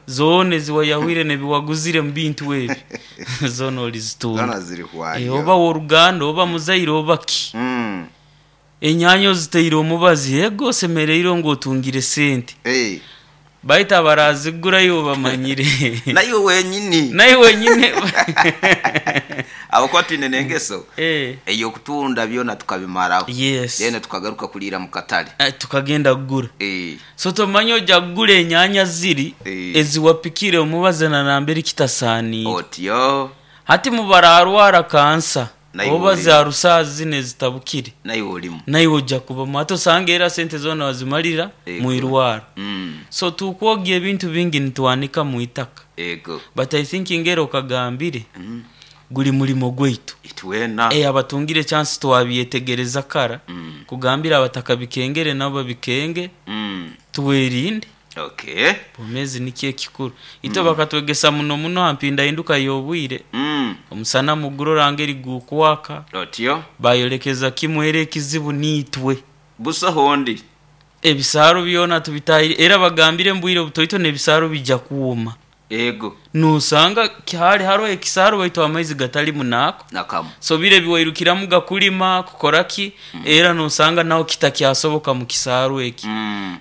Zoona ezi wayahwire n'ebi waguzire mu bintu ebi, zoona olizitunda. Zoona zirihwayo. Oba w'oruganda, oba muzaire, oba ki. Enyaanya ozitaire omubazi, ego osemereirwe ngu otungire sente. Baitu abarazigura iwe obamanyire. Naiwe wenyini. Naiwe wenyini. Ahabw'okuba twine n'engeso ey'okutunda byona tukabimaraho. Yes. Then tukagaruka kuriira mu katale. Tukagenda kugura. So tomanya oja kugura enyaanya ziri eziwapikire omubazi na nambere kitasaaniire. Otyo. Hati mubararwara kansa Naiwe oba olimu. za rusaazi zinu ezitabukire. Naiwe olimu. Naiwe oja kubamu. Hati osanga era sente zoona wazimalira Ego. mwirwaro. Mm. So tukwogya ebintu bingi nitwanika mwitaka. Ego. But I think ngeri okagambire guri murimo gwaitu. Itwena. Abatungire chance twabyetegereza kara kugambira abatakabikengere nabo babikenge twerinde. Okay. Obwomeezi nikyo ekikuru. Itwe bakatwegesa muno muno ha mpindahinduka y'obwire. Omusana mugurora ngeri gukwaka. Otyo. Bayolekeza kimwe era ekizibu niitwe. Busaho ondi. Ebisaaro byona tubitahire era bagambire mu bwire obutoito n'ebisaaro bija kwoma. Ego. Nosanga hali haroho ekisaaro baitu amaizi gatalimu naako. Nakamu. So biri ebiwairukiramuga kulima, kukora ki, era nosanga naho kitakyasoboka mu kisaaro eki.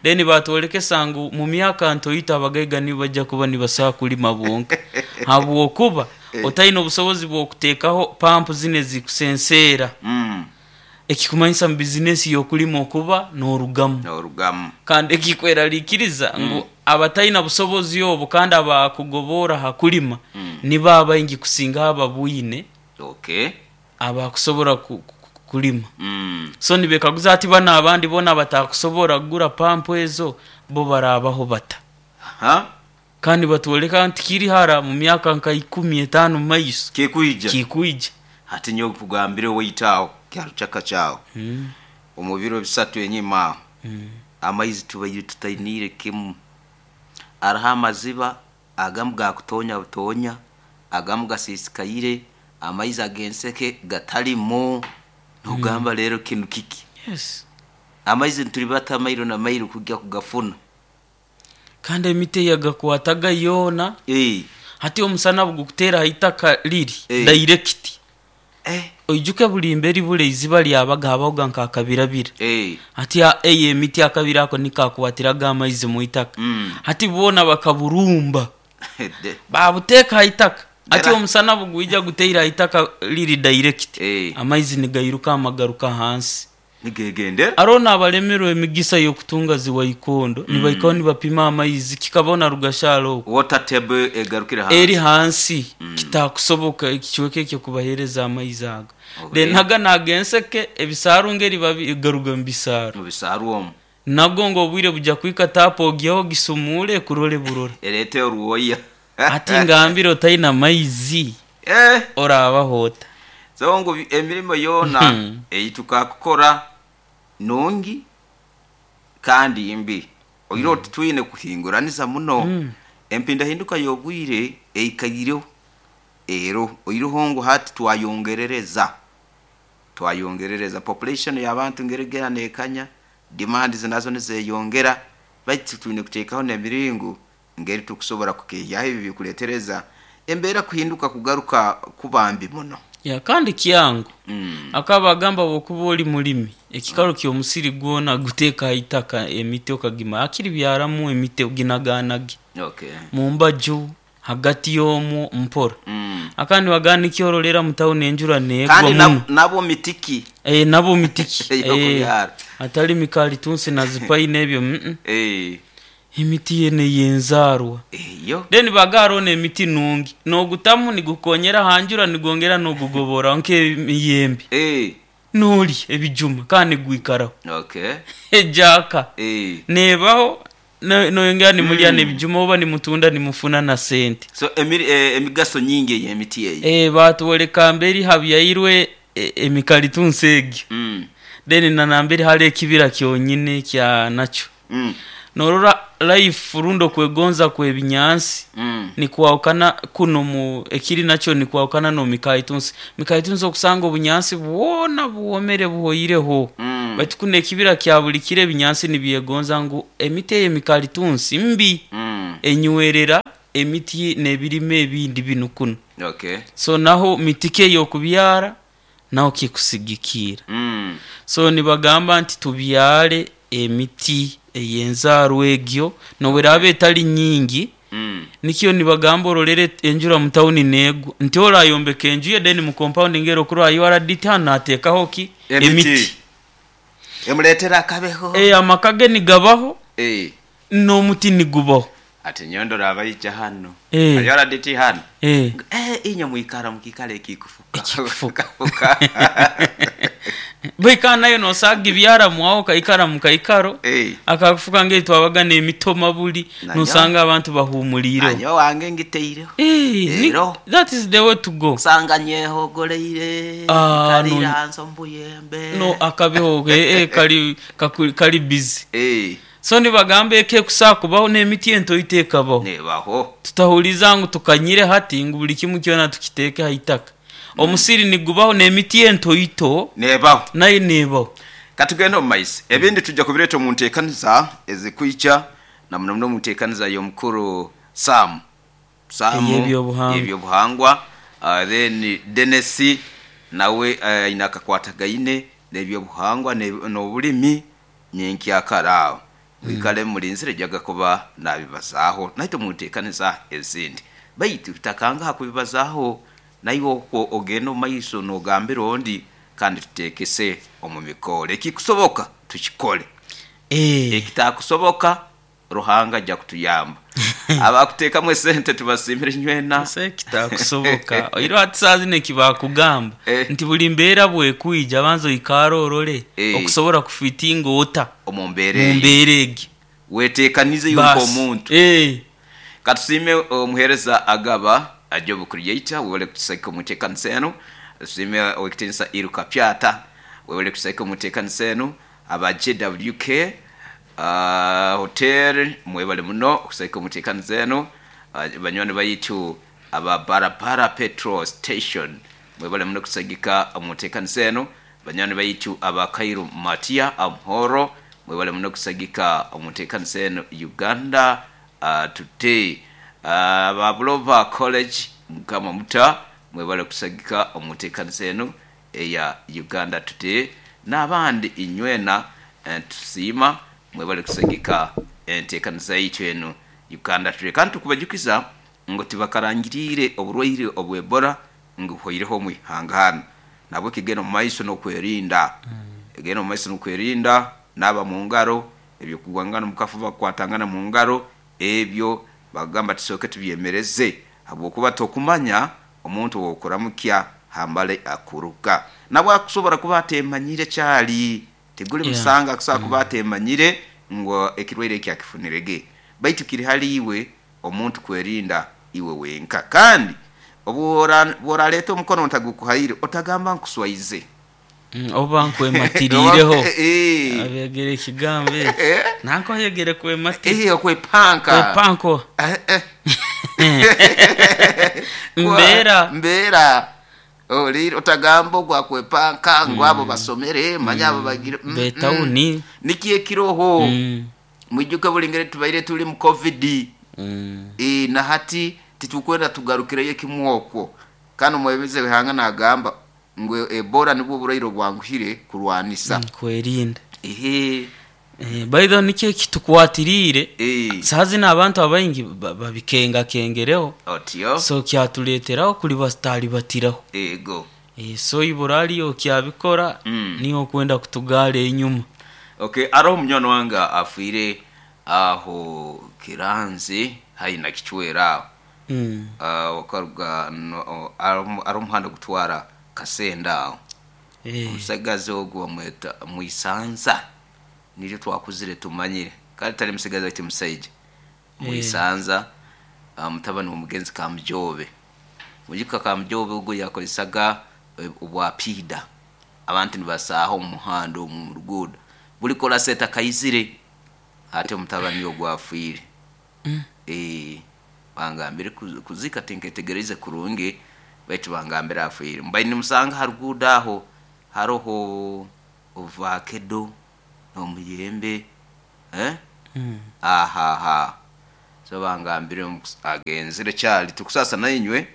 Then batwolekesa ngu mu myaka ntoito abagaiga nibo baija kuba nibasobola kulima bonka habwokuba otaine obusobozi bw'okuteekaho pampu zinu ezikusenseera. Ekikumanyisa mu bizinesi y'okulima okuba n'orugamu. N'orugamu. Kandi ekikweraliikiriza ngu abataine busobozi obu kandi abakugoboora ha kulima nibo abaingi kusingaho ababwine Okay. abakusobora kulima. So nibekaguza hati banu abandi boona abatakusobora kugura pampu ezo bo baraabaho bata? Ha? Kandi batwoleka nti kiri hara mu myaka nka ikumi etaano mu maiso. Kikwija. Kikwija. Hati nyowe nkugambire owaitu aho kyarukyaka kyawe. Omu biro bisatu enyima aho, amaizi tubaire tutainiire kimu. Hariho amaziba agamu gakutonya butonya, agamu gasiisikaire, amaizi ag'enseke gatalimu. Nogamba rero kinu kiki? Yes. Amaizi nitulibata mairo na mairo kugya kugafuna. Kandi emiti eyagakwataga yoona. Hati omusana bugukuteera ha itaka riri direct. Oijuke buri mberi bure eiziba ryabaga habahoga nk'akabirabira. Hati eyo emiti akabira ako niko kakwatiraga amaizi mu itaka. Hati boona bakaburumba baabuteeka ha itaka. Hati omusana bugwija guteire ha itaka riri direct, amaizi nigairuka amagaruka hansi. Nigegendera. Haroho n'abalemerwe emigisa y'okutunga zi waikondo nibaikaho nibapima amaizi kikabona Rugashara okwo. Water table egarukire hansi. Eri hansi kitakusoboka ekicweka ekyo kubahereza amaizi ago. Then naga ag'enseke ebisaaru ngeri garuga mu bisaaru. Mu bisaaru omu. Nago ngu obwire buja kuhika taapu ogiheho ogisumuure ekurore burora. Ereete orwoya. Hati ngambire otaine amaizi oraabaho ota? So ngu emirimo yoona ei tukakukora nungi kandi mbi. Oihireho titwine kuhinguraniza muno. Empindahinduka y'obwire eikaireho eroho. Oihireho ngu hati twayongerereza, twayongerereza population y'abantu ngeri egenda neekanya, demands nazo nizeyongera, baitu twine kuteekaho n'emiringo ngeri tukusobora kukeehyaho ebi ebikuleetereza embeera kuhinduka kugaruka kuba mbi muno. Ya kandi kyangu. Akaba agamba bwokuba ori mulimi, ekikaro ky'omusiri gwona guteeke aha itaka emiti okagima hakiri byaramu emiti oginaganage mu mbaju, hagati y'omwo mpora. Akandi nibagamba nikyo orora mu tawuni enjura neegwa Kandi muno. nabwo miti ki? Nabwo miti ki? Ey'okubyara. Hatali mikalitunsi na zipaini ebyo. Emiti yena ey'enzaarwa. Eyo. Then baga haroho n'emiti nungi, n'ogutamu nigukonyera ha njura nigwongera n'ogugoboraho nk'emiyembe. N'olya ebijuma kandi nigwikaraho. Ejaaka neebaho noyongera nimulya n'ebijuma oba nimutunda nimufuna na sente. So emigaso nyingi ey'emiti eyo. Baatwoleka mberi habyairwe emikalitunsi egyo. Then na nambere hariho ekibira kyonyine kya nakyo. Norora life rundi okwegonza kw'ebinyansi nikwahukana kunu mu ekiri nakyo nikwahukana n'omikalitunsi. Mikalitunsi okusanga obunyansi bwona bwomere buhoireho. Baitu kunu ekibira kya buli kiro ebinyansi nibyegonza ngu emiti ey'emikalitunsi mbi. Enywerera emiti n'ebirime ebindi binu kunu. So naho miti ki ey'okubyara naho kikusigikiira. So nibagamba nti tubyare emiti ey'enzaarwa egyo n'obu eraaba etali nyingi, nikyo nibagamba orolere enjura mu tawuni neegwa, nti ori ayombeka enju ye then mu compound ngeri okurora URD hanu naateekaho ki? Emiti. Emuleetera akabeho. Amaka ge nigabaho n'omuti nigubaho. Ati nyowe ndora abaija hanu, URDT hanu, ngu inywe mwikara mu kiikaro ekikufuka. Ekikufuka. Baitu kandi nayo nosobola kugibyaramu aho okaikara mu kaikaro akakufuka ngeri twabaga n'emitoma buli nosanga abantu bahuumuliireho. Nanyowe owange ngitaireho. Ero. That is the way to go. Osanga nyehogoreire, nkaliire hansi omu buyembe. No akabeho kali kali busy. So nibagamba eka ekusobola kubaho n'emiti entoito ekabaho. Nebaho. Tutahuliiriza ngu tukanyire hati ngu buli kimu kyona tukiteeke ha itaka. Omusiri nigubaho n'emiti entoito Nebaho. nayo nebaho. Katugende omu maiso. Ebindi twija kubireeta omu nteekaniza ezikwija na muno muno omu nteekaniza y'omukuru Sam. Sam Ey'ebyobuhangwa. ey'ebyobuhangwa. Then Denis nawe aine akakwatagaine n'ebyobuhangwa n'obulimi nyenkyakara aho. Mwikale mulinzire njaga kuba nabibazaaho naitwe omu nteekaniza ezindi. Baitu tutakangaha kubibazaaho naiwe okwo ogende omu maiso n'ogambira ondi kandi tuteekese omu mikoora. Ekikusoboka tukikole, ekitakusoboka Ruhanga aja kutuyamba. Abakuteekamu esente tubasiimire inywena. Busaho ekitakusoboka. Oihireho hati saaha zinu eki baakugamba nti buli mbeera bw'ekwija banza oikaare orole okusobora kufitinga ota Omu mbeera eyo. Mu mbeera egyo. Weteekanize iwe Baasi. nk'omuntu. Katusiime omuheereza Agaba Job Creator webale kutusagika omu nteekanisa enu. Tusiime ow'ekitiinisa Iruka Pyata webale kutusagika omu nteekanisa enu. Aba JWK Hotel mwebale muno okusagika omu nteekaniza enu. Banywani baitu aba Barabara Petrol Station mwebale muno kutusagika omu nteekaniza enu. Banywani baitu aba Kairu Matia Amhoro mwebale muno kusagika omu nteekanisa eno Uganda Today. Aba Buloba College Mukama Muta mwebale kusagika omu nteekanisa eno eya Uganda Today n'abandi inywena tusiima mwebale kusagika enteekaniza yaitu eno Uganda Today. Kandi tukubajukiza ngu tibakarangiriire oburwaire obwa Ebola ngu buhweireho omu ihanga hanu. Nahabweki genda omu maiso n'okwerinda. Genda omu maiso n'okwerinda, naaba mu ngaro, eby'okugwangana omu kafuba kukwatangana mu ngaro, ebyo bakugamba tusooke tubyemereze habwokuba tokumanya omuntu ow'okuramukya hambali akuruga. Nabwo akusobora kuba ateemanyire kyali. Tiguli musango akusobora kuba ateemanyire ngu ekirwaire eki akifunirege. Baitu kiri hali iwe omuntu kwerinda iwe wenka. Kandi obu oraleeta omukono ntagukuhaire, otagamba nkuswaize. Oba nkwematiriireho. Abeegere ekigambo eki. Nanka oyegere kwematira. Okwepanka. Kwepanka. Mbeera. Mbeera. Ohuriire? Otagamba ogu akwepanka ngu abo basomere, manya abo bagire. B'etawuni. Nikyo ekiroho. Mwijuke buri ngeri tubaire turi mu Covid, na hati titurikwenda tugarukireyo kimwe okwo. Kandi omwebembezi w'eihanga naagamba ngu Ebola nibwo burwaire obwanguhire kurwanisa. Kwerinda. By the way nikyo ekitukwatiriire, saaha zinu abantu abaingi babikengakengereho. Otyo. So kyatureeteraho kuribataribatiraho. Eego. So ibura hariyo okyabikora, niiwe okwenda kutugaara enyuma. Ok, haroho munywani wange afiire aho Kiranzi haihi na Kicwera aho. Okaruga hariho omuhanda ogutwara Kasenda aho. Omusigazi ogu bamweta Mwisanza, niryo twakuzire tumanyire. Kare tari musigazi baitu musaija. Mwisanza mutabani w'omugenzi Kamujoobe. Mwijuka Kamujoobe ogu yakozesaga obwa piida. Abantu nibasaaha omu muhanda omu omu ruguudo. Buli korasi etakaizire, hati omutabani ogu afiire. Eeh, bangambire kuziika tinketegereize kurungi, baitu bangambire afiire. Mbaire nimusanga ha ruguudo aho, haroho ovakedo n'omuyembe, eh, aho aho aho. So bangambire ngu agenzire kyali tukusasa nainywe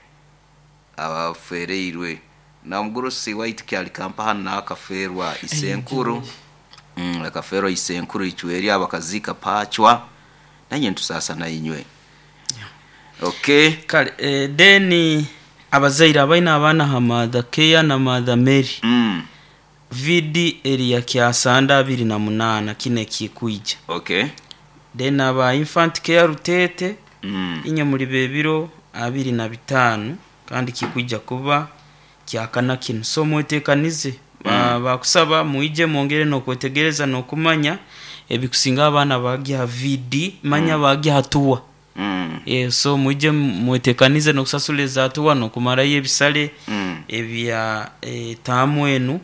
abafereirwe namugurusi waitu kyali kampaha nakaferwa isenkuru. Akaferwa isenkuru ichweri abakazika pachwa nanye ntusasa nainywe. Okay. Kale then abazaire abaina abaana ha Mother Care na Mother Mary. VD eri kyasanda 28 kine kikwija. Okay. Then aba Infant Care Rutete inye muri bebiro 25 kandi kikwija kuba kyakana kino. So mwetekanize. Bakusaba muije mwongere nokwetegereza nokumanya ebikusinga abaana bagya VD manya bagya hatua. So muije mwetekanize nokusasula ezatuwa nokumarayo ebisale ebya taamu enu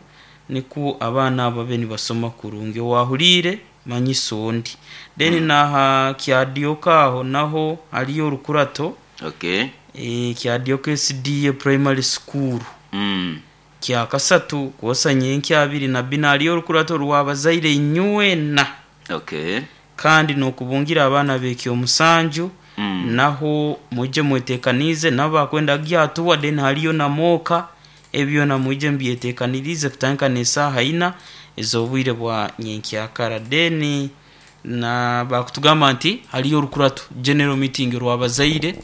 niku abaana abo babe nibasoma kurungi. Owahuriire manyiso ondi. Then naha kyadioka aho naho hariyo orukurato. Okay. Kyadioka SDA Primary School. Kyakasatu kwosa nyenkya abiri na bina hariyo orukurato rwabazaire inywena. Okay. Kandi nokubungira abaana bekyo omusanju. Naho muje mwetekanize nabakwenda gyatuwa then hariyo na moka ebyo na muje mbyetekanirize kutandika n'esaaha ina ez'obwire bwa nyenkyakara. Then na bakutugamba nti hariyo orukurato general meeting rwabazaire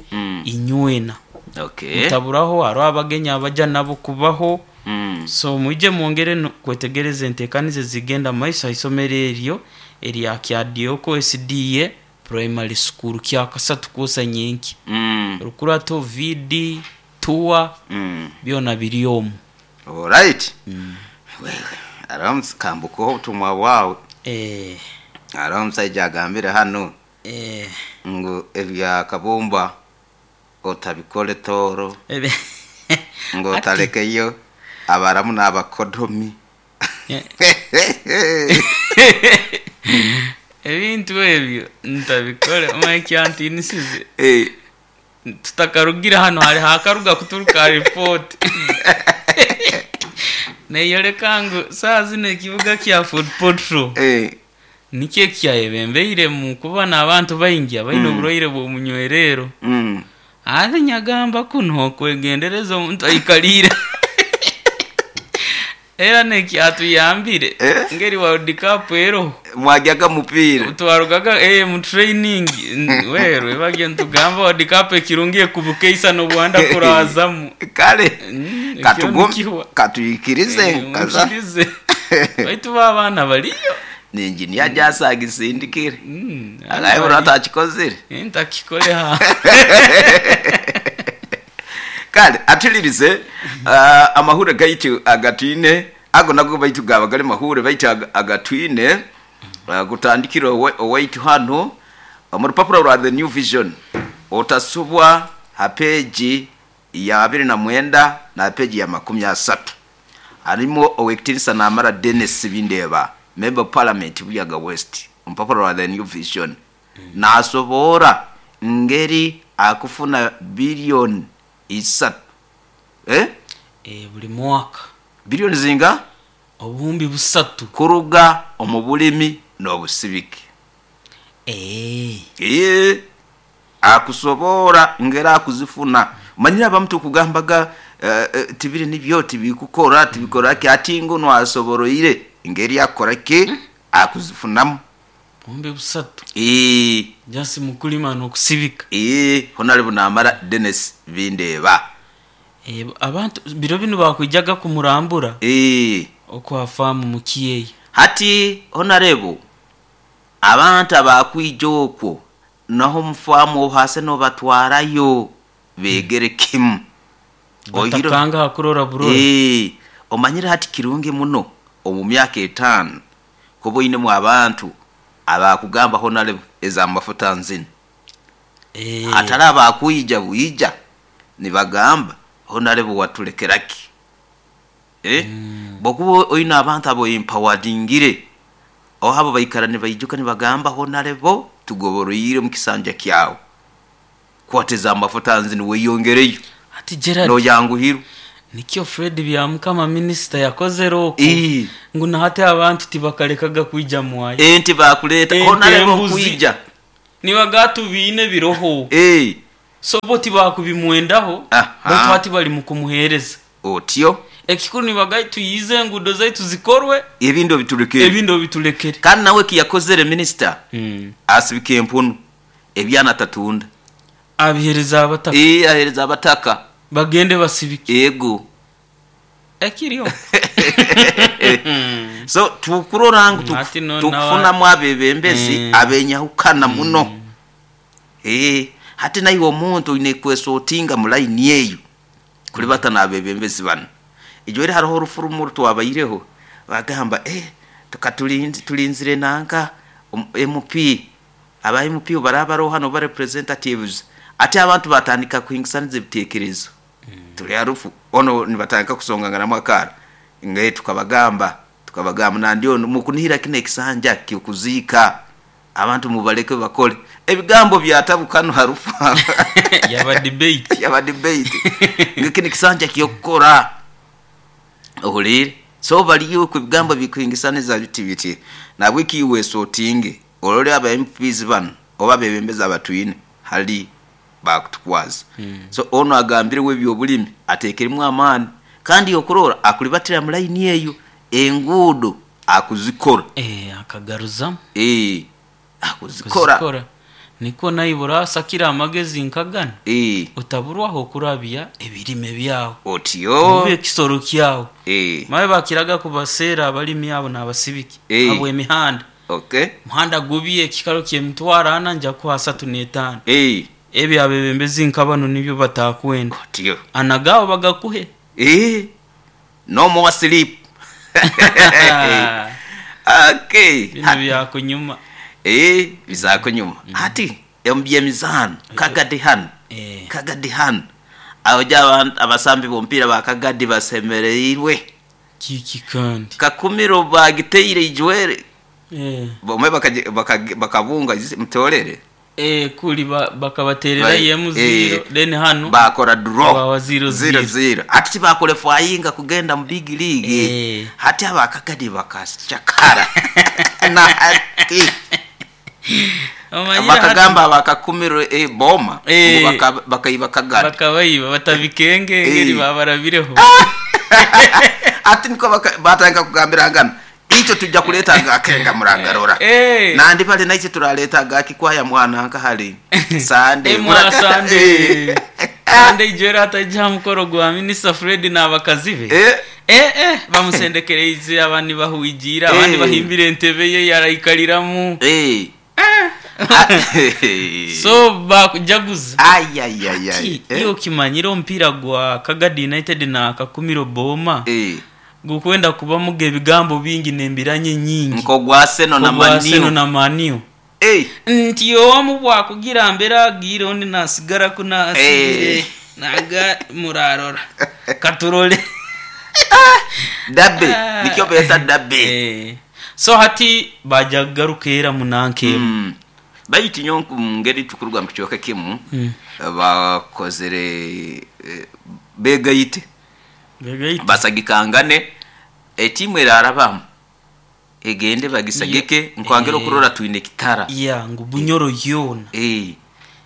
inywena. Okay. Mutaburaho hariho abagenyi abaja nabo kubaho. So muje mwongere kwetegereza entekanize zigenda maiso haisomero eryo erya Kyadioko SDA Primary School kyakasatu kwosa nyenki. Rukurato VD tuwa byona biri omu. Alright. Wewe aramu kambuko obutumwa bwawe. Aramu omusajja agambire hano. Ngu ebya kabumba otabikole toro. Ngo otalekeyo abaramu n'abakodomi. Ebintu ebyo ntabikole omwekyantinisize. Tutakarugira hano hari hakaruga kuturuka report. Neyoleka ngu saa zino ekibuga kya Fort Portal. Nikyo ekyayebembeire mu kuba n'abantu baingi abaine oburwaire bw'omunywerero. Ate nyagamba kuno okwegendereza omuntu aikaliire. Era nekyatuyambire ngeri World Cup ero. Mwajyaga mupiira. Twarugaga mu training werwe bagye ntugamba World Cup ekirungi ekubukeisa n'obwanda kurazamu. Kale katuyikirize kaza. Baitu abaana baliyo. Ni engineer jasagisindikire. Agaye uratakikoze. Ntakikole ha. Kale atulirize amahure gaitu agatwine ago nago baitu gaba gari mahure baitu agatwine gutandikira owaitu hano mu rupapuro rwa The New Vision otasubwa ha page ya 29 na page ya 30 harimo Owekitinisa Namara Dennis Bindeba member of parliament Buyaga West umupapuro rwa The New Vision nasobora ngeri akufuna billion 3 buli mwaka bilioni zinga obuhumbi 3 kuruga omubulimi n'obusibiki. Akusobora ngera akuzifuna manyira abamuntu kugambaga tibiri nibyo tibikukora tibikora ki ati ngo nwasoboroire ngeri yakora ki akuzifunamu buhumbi 3 jasi mukulima n'okusibika. Honorable Namara Dennis Bindeba. Abantu biro bino bakwijaga kumurambura okwa famu mukiyeyi. Hati honorable abantu abakwija okwo naho mufamu hase no batwarayo begere kimu batakanga hakurora burora. Omanyira hati kirungi muno omu myaka 5 kuba oinemu abantu abakugamba honorable eza mafuta nzini. Atari abakwija buija nibagamba honorable watulekeraki. Bokuba oina abantu abo empoweringire aho abo baikara nibaijuka nibagamba honorable tugoboroyire mu kisanja kyawo kwateza amafuta nzini weyongereyo. Ati Gerard no yanguhiru nikyo Fred Byamukama minister yakoze roko ngu nahate abantu tibakalekaga kuija mwayo enti bakuleta honorable kuija Nibaga tubiine biroho. So bo tibakubimwendaho baitu hati bali mukumuhereza. Otyo. Ekikuru nibaga tuyiize enguudo zaitu zikorwe. Ebindi obitulekere. Ebindi obitulekere. Kandi nawe ekiyakozere minisita asibika empunu ebyana atatunda. Abihereza abataka. Ahereza abataka. Bagende basibike. Ego. Ekiriho. So tukurora ngu tukufunamu abebembezi abenyahukana muno. Hati naiwe omuntu oine kwesotinga mu layini eyo kulibata n'abebembezi banu. Ijweri haroho orufurumu orutwabaireho bagamba tulinzire nanka MP, aba MP baraba baroho hanu oba representatives, ati abantu batandika kuhingisaniza ebitekerezo. Tuli harufu ono nibatandika kusonganganamu akaara ngaye tukabagamba nandi ono mukunihira kino ekisanja ky'okuziika abantu mubaleke bakole. Ebigambo byatabukano harufu. Yaba debate. Yaba debate. Ngekini kisanja kyokukora. Ohulire. So baliyo ku bigambo bikuhingisaniza biti biti. Na wiki wesotinge olole aba MPs bano oba bebembeza abatwine hali bakutukwaza. So ono agambire we byobulimi atekeremu amaani kandi okurora akulibatira mu line eyo enguudo akuzikora. Akagaruza. Akuzikora. Niko naibura sakira amagezi nkagana. Otaburwaho kurabya ebirime byawo. Otyo. Mube kisoro kyawo. Mawe bakiraga kubasera abalimi abo n'abasibiki. Abo emihanda. Okay. Muhanda gubiye kikaro kyemitwara ana nja kuha 35. Ebi abebembezi nkabano nibyo batakwenda. Otyo. Anagawo bagakuhe. No more sleep. Okay. Bino byakunyuma. Bizakunyuma. Ati embyemizano Kagadi hano. Kagadi hano. Abaja abasambi bompira bakagadi basemereirwe. Kiki kandi. Kakumiro bagiteire ijwere. Bomwe bakabunga mtorere. Kuli bakabaterera yemu 0 then hano bakora draw 0-0. Ati bakole fwayinga kugenda mu big league. Hati abakagadi bakachakara. Na hati bakagamba bakakumiro boma bakaiba Kagadi. Bakabaiba batabikenge ngeri babarabireho. Ati niko batanga kugambira ngana icyo tujja kuleta gakenga murangarora. Nandi bali naite turaleta gakikwaya mwana nka hali Sunday. Mwana Sunday. Sunday jera ataja mukoro gwa Minister Fred n'abakazi be. Bamusendekereize abandi bahuigira abandi bahimbire entebe ye yaraikaliramu. So bakujaguza. Ayayayay. Iyo kimanyira ompira gwa Kagadi United na Kakumiro Boma. Gukwenda kuba muge ebigambo bingi nembiranye nyingi. Nko gwa Arsenal na Maniu. Arsenal na Maniu. Nti omu bwakugira mbera gira ondi nasigara kuna asibire. Naga murarora. Katurole. Dabe. Nikyo beta dabe. So hati bajagaruka munanke. Bayiti nyonku ngeri tukurwa mkichoka kimu. Bakozere begayite. Basagikangane etimu erarabamu egende bagisagike nkwangero kurora twine Kitara. Ngu Bunyoro yona.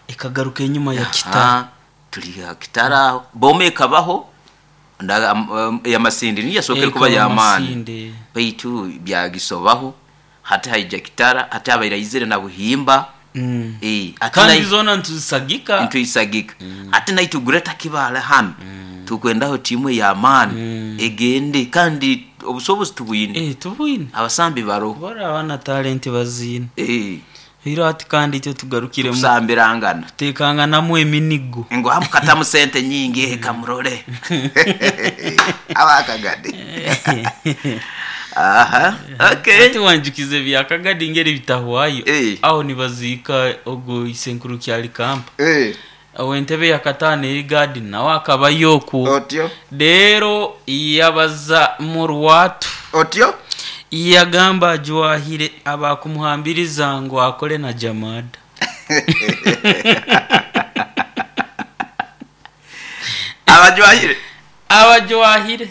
Ekagaruka enyuma ya Kitara. Tuli Kitara bome kabaho ndaga ya Masindi niyo sokere kuba ya amani. Baitu byagisobaho hati haija Kitara hati abairaizire na Buhimba. Kandi zona ntuzisagika. Ntuzisagika. Ati naitu Greater Kibale hano. Tukwendaho timu ya amani egende kandi obusobozi tubwine. Tubwine. Abasambi baro. Bora abana talent bazine. Hiro ati kandi icyo tugarukire mu kusambirangana. Tekangana mu eminigo. Ngo hamukata mu sente nyingi kamurole. Abakagadi. Aha. Okay. Ati wanjukize bya Kagadi ngeri bitahwayo. Aho nibazika ogo isenkuru kyali kampa. Awentebe ya katane eri nawe akaba yoku. Otyo. Rero yabaza murwatu. Otyo. Yagamba ajwahire abakumuhambiriza ngo akole na Jamada. Abajwahire. Abajwahire.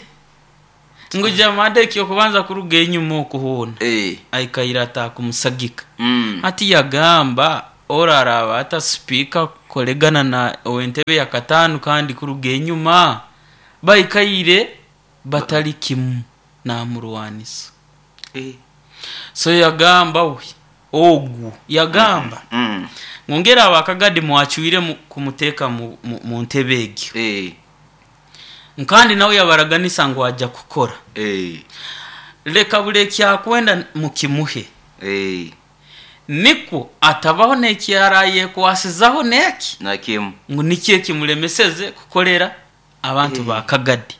Ngo Jamada ekyo kubanza kuruga enyuma okuhona. Aikaira atakumusagika. Ati yagamba Oraraba ata sipiika kukoregana na ow'entebe ya kataano kandi kuruga enyuma baikaire batali kimu namurwanisa. So yagamba we ogu yagamba ngongera abakagadi mwacwire kumuteeka mu ntebe egyo. Kandi nawe yabaraganisa ngu ajja kukora. Leka buli ekyakwenda mukimuhe. Nikwo atabaho n'ekyarayekwasizaho n'eki nakimu ngu nikyo ekimulemeseze kukolera abantu ba Kagadi.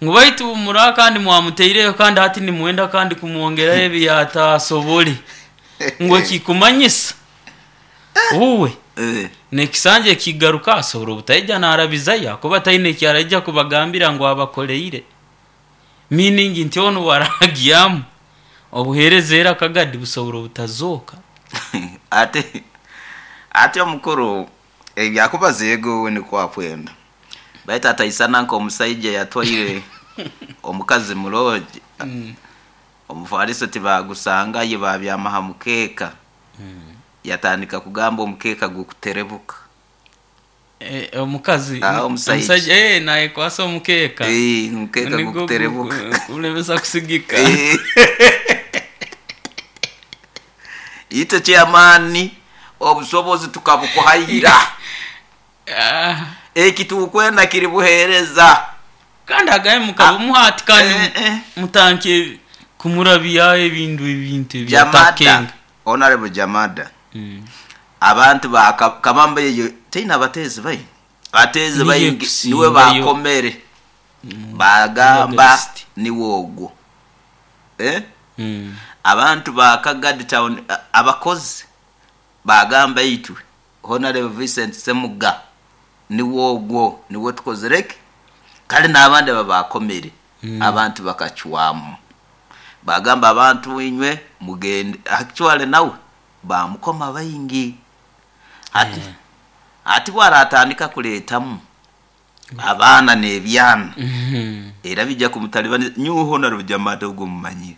Ngu baitu mura kandi mwamuteireyo kandi hati nimwenda kandi kumwongerayo ebi yatasobole. Ngu ekikumanyisa uwe n'ekisanja ekigaruka asobora obutaija narabizayo akuba taine ekyaraija kubagambira ngu abakoleire. Meaning nti onu waragyamu obuheereza era Kagadi busobora obutazooka. Ate omukuru ebyakubaza ego we nikwo akwenda, baitu ataisana nk'omusaija yatwaire omukazi murogi. Omufaliso tibagusangayo, babyama ha mukeeka. Yatandika kugamba omukeeka gukuterebuka. Omukazi Omusaija. Omusaija nayekwasa omukeeka. Omukeeka Nigwo gukuterebuka. Kulemesa kusigika. Itwe chairman obusobozi tukabukuhaira. Eki tukwenda kiri buheereza. Kandi agaye mukabumuha kandi mutanke kumurabya ebintu Jamada. ebyatakenga. Honorable Jamada. Abantu ba kabamba yeyo teina abatezi bai. Batezi Niye bai kusingayo. niwe bakomere. Bagamba August. niwe ogwo. Abantu ba Kagadi town abakozi bagamba itwe Honorable Vincent Semuga niwe ogwo niwe tukozereke. Kale n'abandi babakomere. Abantu bakacwamu. Bagamba abantu inywe mugende actually nawe bamukoma baingi. Ati ati bwaratandika kuletamu abaana n'ebyana. Era bijja kumutalibani nyuho Honorable Jamada ogwo mumanyire.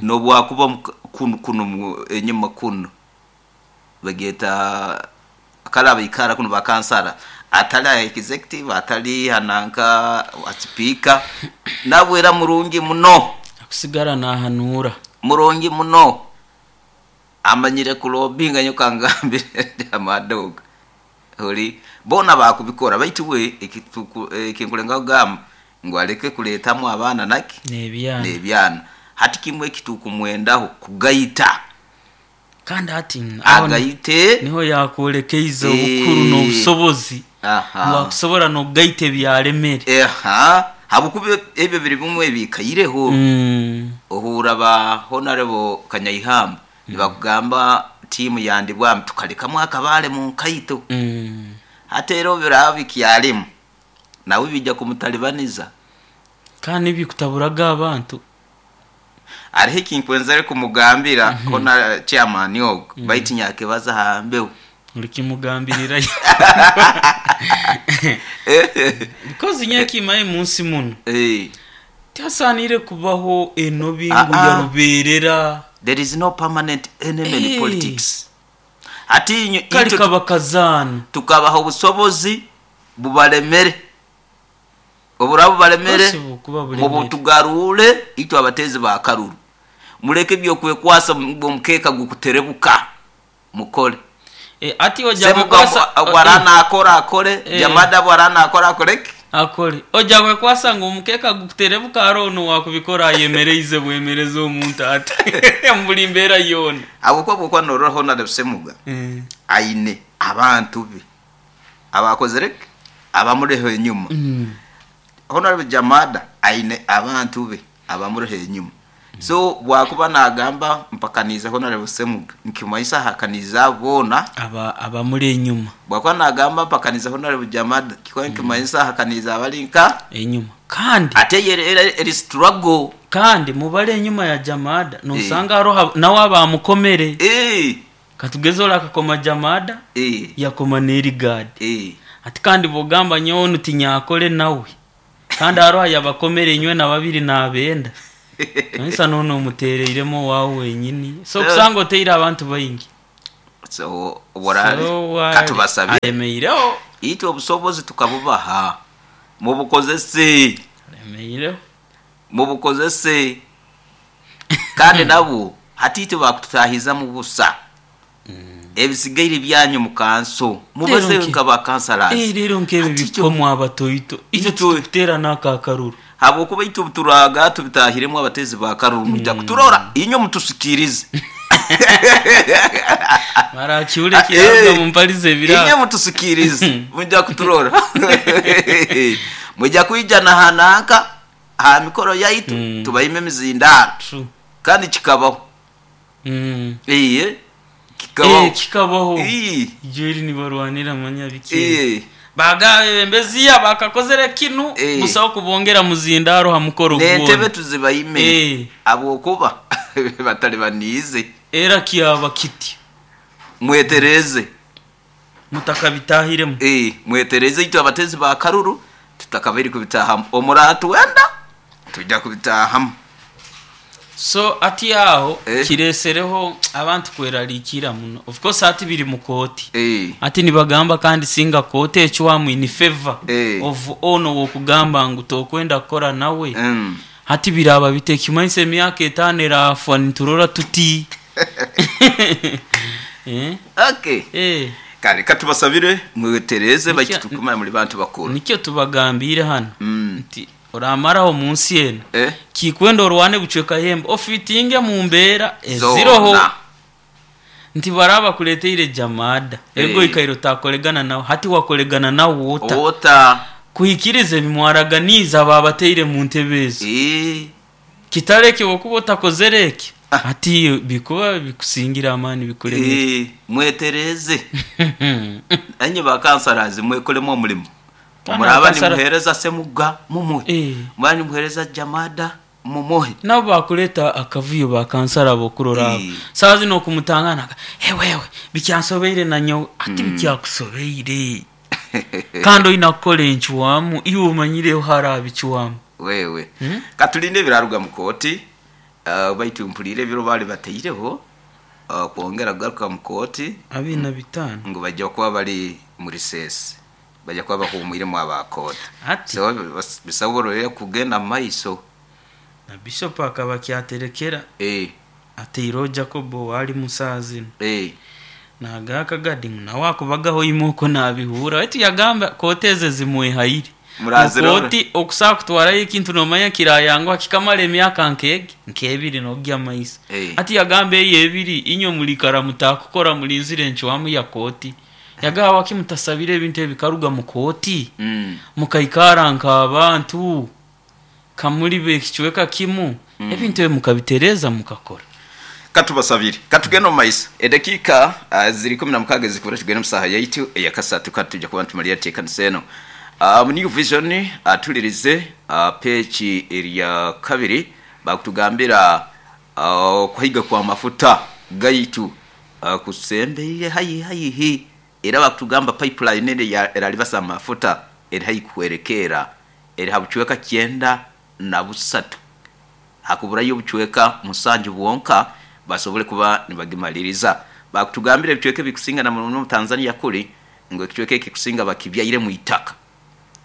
Nobwakuba kuno enyuma kuno bageta kala ikara kuno bakansara atali executive atali hananka speaker nabwera murungi muno akusigara nahanura murungi muno amanyire kulobinga nyokangambire amadoga holi bona bakubikora baitu we ekinkulenga kugamba ngo aleke kuletamu abaana naki n'ebyana n'ebyana hati kimwe ekitukumwendaho kugaita kandi hati agaite niho yakwolekeize obukuru n'obusobozi bwakusobora n'okugaita ebyalemere. Habwokuba ebyo biri bimwe ebikaireho. Ohura ba Honorable Kanyaihamba nibakugamba tiimu yandibwamu tukalekamu akabaale mu nkaito. Hati era biraba bikyalimu nawe bijja kumutalibaniza. Kandi bikutaburaga abantu. Hariho ekinkwenzere kumugambira hona chairman ogu baitu nyakebaza hambeho. Ulikimugambirira. Because nyakimaye munsi muno. Tihasanire kubaho enobi ngu yaruberera. There is no permanent enemy in politics. Ati kali kabakazana tukabaho obusobozi bubalemere. Oburabu balemere mubutugarule itwe abatezi ba karuru. Muleke byokwekwasa mukeka gukuterebuka mukole. Ati oja kwekwasa warana akora akore Jamada warana akora akore akore oja kwekwasa ngo mukeka gukuterebuka arono wakubikora ayemereize bwemereze omuntu ati mbuli mbera yona abo kwa noroho na Semuga aine abantu be abakozereke abamureho enyuma. Honorable Jamada aine abantu be abamureho enyuma. So bwakuba nagamba mpakaniza Honorable Semuga nkimaisa hakaniza bona abamuri enyuma. Bwakuba nagamba mpakaniza Honorable Jamada kiko nkimaisa hakaniza abalinka enyuma. Kandi ate eri struggle kandi mubale enyuma ya Jamada nosanga aroha nawe abamukomere. Katugeze ola akakoma Jamada yakoma n'erigadi. Ati kandi bogamba nyowe tinyakole nawe kandi aroha yabakomere enywe na babiri nabenda. Kanisa noona omuteereiremu owaawe wenyini. So okusanga oteire abantu baingi. So obworaaba So katubasabire alemeireho. Itwe obusobozi tukabubaha mubukozese. Alemeireho. Mubukozese. Kandi nabo hati itwe bakututahizamu busa. Ebisigaire byanyu mu kanso mubaze nka ba councillors. Rero nk'ebyo Hati bikomwa abatoito. Itwe tukuteera n'aka akaruru. Habwokuba itwe obuturaga tubitahiremu abatezi ba karuru mujja kuturora inywe mutusikirize. Mara kiule kiraruga mumpalize Inywe ebirabo. mutusikirize mujja kuturora. Mujja kwija na hanaka ha mikoro yaitu tubaime emizindaro. True. Kandi kikabaho. Iye kikabaho. Kikabaho. Ii. Ijo eri nibarwanira manya biki. Bagabe bembeziya bakakozere kinu busaho kubongera muzindaro ha mukoro N'entebe gwona. tuzibaime. Habwokuba batali baniize. Era kyaba kiti. Mwetereze. Mutakabitahiremu. Mwetereze itwe abatezi ba karuru tutakabaire kubitahamu. Omuratu wenda tujja kubitahamu. So ati aho kiresereho abantu kwerarikira muno. Of course ati biri mu kooti. Ati nibagamba kandi singa kooti ecwamu in favor of ono wokugamba ngu tokwenda kukora nawe. Hati biraba bitekimanyisa emyaka 5 erafwa niturora tuti. Okay. Kale katubasabire mwetereze baitu tukumanye muri bantu bakuru. Nikyo tubagambire hano. Nti oramaraho munsi eno. Kikwenda orwane bucweka hembe ofitinge mu mbeera eziroho. Nti baraba kuleteire jamada. Ego ikairo takolegana nawe hati wakolegana nawe wota. Wota. Kuhikiriza ebimwaraganiza babateire mu ntebe ezo. Kitareke wokuba otakozere eki. Ati bikuba bikusingira amani bikuremera. Mwetereze. Anye ba councillors mwekolemo omulimo. Omuraba nimuhereza Semuga mumuhe. Muraba nimuhereza Jamada mumuhe. Nabo bakuleta akavuyo ba kansara bokurora. Sazi no kumutangana. Wewe bikyansobeire na nyo ati bikyakusobeire. Kandi oyina kukora enchwamu iwe omanyire harabi chwamu. Wewe. Katulinde biraruga mu kooti. Baitu mpulire ebiro bali bateireho kwongera kugaruka mu kooti. 25. Ngu bajja kuba bari muri sesi. Bajja kuba bahumwiremu aba kooti. So bisoborere kugenda mu maiso. Na Bishop akaba kyaterekera. Ateiro Jacobo wali musazi. Nagaka gadi nawe akubagaho imoko nabihura. Wetu yagamba kooteze zimwehaire. Koti okusaa kutwarayo ekintu nomanya kirayangwa kikamara emyaka nkege nkebiri nogya maisa. Ati yagamba eyo ebiri inywe mulikara mutakukora mulinzire enchwamu ya koti. Yagawa kimutasabire ebintu ebikaruga mu koti. Mukaikara nk'abantu kamuri bekicweka kimu ebintu ebyo mukabitereza mukakora. Katubasabire katugenda mu maiso edakika ziri 16 zikubura tugenda mu saha yaitu eyakasatu katujja kuba ntumalira tekanisa eno. Mu New Vision atulirize page erya kabiri bakutugambira okuhiga kwa mafuta gaitu kusembeire hayi hayi era bakutugamba pipeline ene ya eralibasa amafuta eri hayi kuwerekera eri habucweka 93 hakuburayo obucweka 7 bwonka basobole kuba nibagimaliriza. Bakutugambira ebicweka bikusinga na mu Tanzania kuli ngo ekicweka ekikusinga bakibyaire mu itaka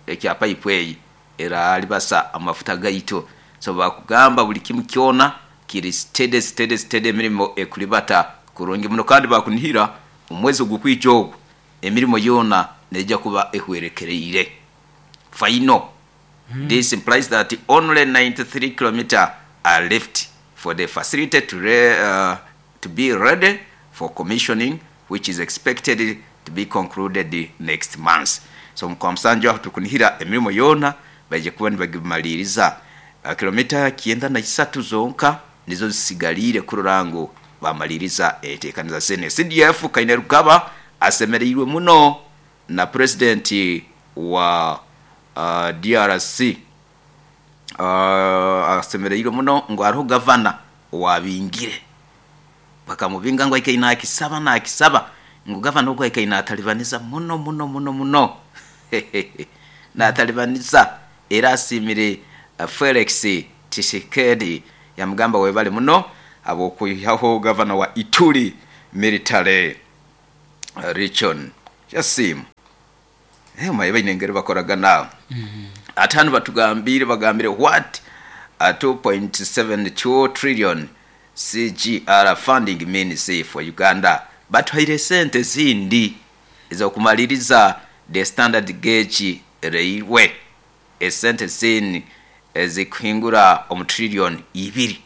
ekya pipe eyi era alibasa amafuta gaito. So bakugamba buli kimu kyona kiri steady steady steady emirimo ekulibata kurungi muno kandi bakunihira omwezi ogukwica ogwo emirimo yona nejja kuba ehwerekereire. Final. This implies that only 93 kilometers are left for the facility to be ready for commissioning, which is expected to be concluded next month. So mukwa musanju aho tukunihira emirimo yona baje kuba nibagimaliriza. Kilomita 93 zonka nizo zisigalire kururango bamaliriza etekaniza sene. CDF Kainerugaba asemereirwe muno na president wa DRC. Asemereirwe muno ngo ariho gavana wabingire bakamubinga ngo ikaina akisaba na akisaba ngo gavana ogwo ikaina atalibaniza muno muno muno muno na atalibaniza era asimire Felix Tshisekedi Yamugamba webale muno habw'okwihaho gavana wa Ituri military region. Yasiima. Omanye baine engeri bakoragana. Ate hanu batugambiire bagambire what 2.72 trillion CGR funding means for Uganda. Batuhaire esente ezindi ez'okumaliriza the standard gauge railway. Esente zini ezikuhingura omu trillion ibiri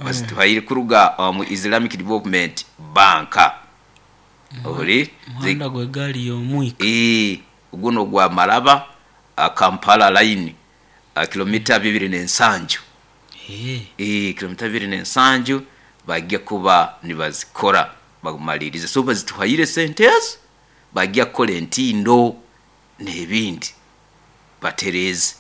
bazituhaire kuruga omu Islamic Development Bank. Ori Omuhanda gw'egaali y'omwika. Ii, guno ogwa Malaba Kampala line kilomita bibiri n'ensanju. Ii, kilomita bibiri n'ensanju bagya kuba nibazikora bagumalirize. So bazituhaire esente ezo bagya kukora entindo n'ebindi batereeze.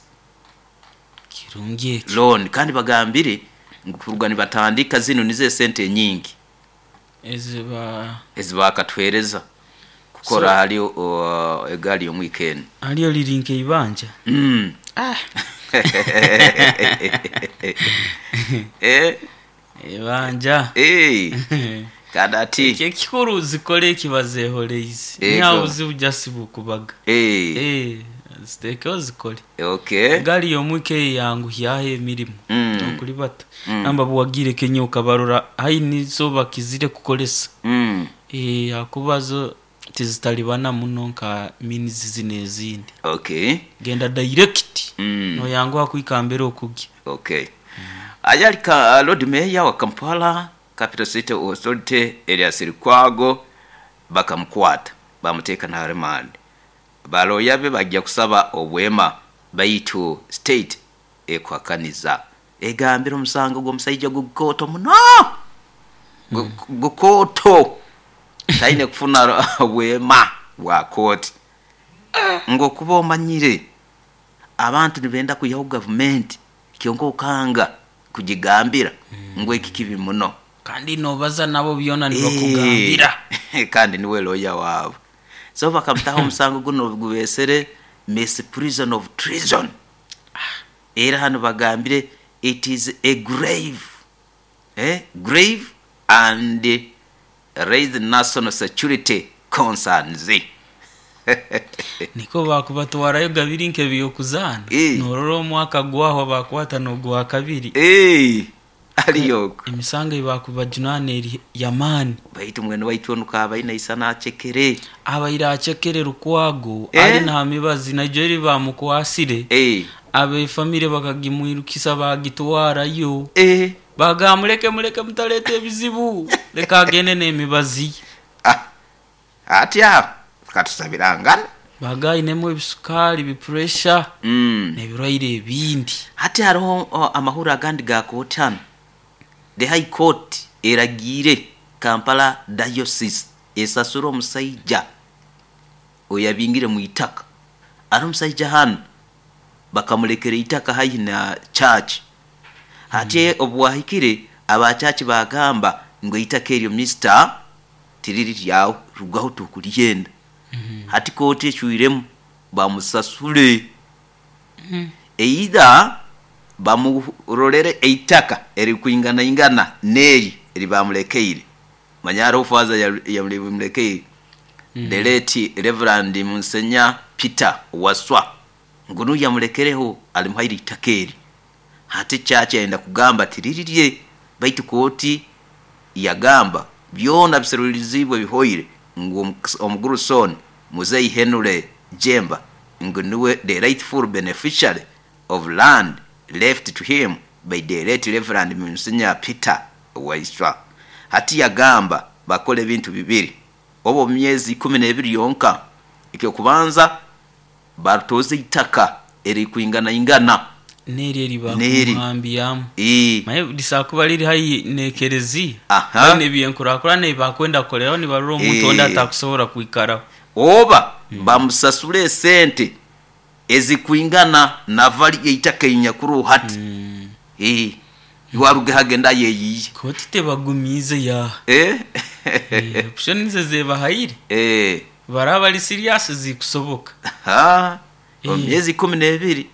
Kirungi ekyo. Loan kandi bagambire ngu kuruga nibatandika zinu nizo esente enyingi Eziba ezibakatuhereza kukora So- hali egaali y'omwika enu. Haliyo liri nk'eibanja. Eibanja. Kandi ati Ekyo ekikuru zikole eki bazehoreize. Ego. Niha obuzibu just bukubaga. Ziteekeho zikole. Egaali y'omwika eyo eyanguhyaho emirimo n'okuribata. Namba buwagiire Kenya okabarora haihi nizo bakizire kukoresa. Ahakuba zo tizitalibana muno nka means zinu ezindi. Genda direct noyanguha kuhika mbere okugya. Aye Lord Mayor wa Kampala Capital City Authority Erias Lukwago bakamukwata bamuteeka na remand. Balooya be bagya kusaba obwema baitu state ekuhakaniza. Egambire omusango gw'omusaija gukooto muno. Gukooto. Taine kufuna obwema bwa kooti. Ngu okuba omanyire abantu nibenda kwihaho gavumenti kyonka okanga kugigambira ngu eki kibi muno. Kandi nobaza nabo byona nibakugambira. Kandi niwe lawyer waabo. So bakamutaho omusango guno gubesere misprision of treason. Era hanu bagambire it is a grave and raise national security concerns. Niko bakubatwarayo gabiri nk'ebyokuzaana. Norora omwaka gwahwa bakwata n'ogwa kabiri. Ariyo. Emisango ei bakubajunaana eri y'amaani. Baitu mwene waitu onu kaaba aine aisana acekere. Abaire acekere Lukwago ari n'aha mibazi naijo eri bamukwasire. Ab'efamire bakagimwirukisa bagitwarayo. Bagamba muleke muleke mutaleeta ebizibu. Leka agende n'emibazi. Ati aho katusabirangana. Baga ainemu ebisukaari, bipuresha n'ebirwaire ebindi. Hati hariho amahuri agandi ga kooti hanu. The High Court eragiire Kampala Diocese esasure omusaija oyabingire mu itaka. Ari omusaija hanu bakamulekera eitaka haihi na church. Hati obu bwahikire aba church bagamba ngu eitaka eryo mister tiriri ryawe rugaho tukuryenda. Hati kooti ecwiremu bamusasure. Either bamurorere eitaka eririkwinganaingana n'eri eri bamulekeire. Manya hariho faaza yamulekeire. The late Reverend Munsenya Peter Waswa ngu niwe yamulekereho arimuhaire eitaka eri. Hati church yayenda kugamba tiririrye baitu kooti yagamba byona biseruriziibwe bihoire ngu omugurusi onu Muzei Henry Jemba ngu niwe the rightful beneficiary of land left to him by the late Reverend Munsenya Peter Waiswa. Hati yagamba bakore ebintu bibiri oba omu myezi ikumi n'ebiri yonka. Eky'okubanza barutoze eitaka eririkwinganaingana. N'eri eri N'eri. bakumuhambyamu. Ii. Manye risobola kuba riri haihi n'ekereziya. Aha. Baine ebyenkurakurana ebi bakwenda kukoreraho nibarora omuntu ondi atakusobola kwikaraho. Oba bamusasure esente ezikwingana na value y'eitaka erinyakuroho hati. Iwe arugeho agende ayeyiiye. Kooti tebagumiize yaaha. Option nizo zebahaire. Baraba bari serious zikusoboka. Omu myezi ikumi n'ebiri.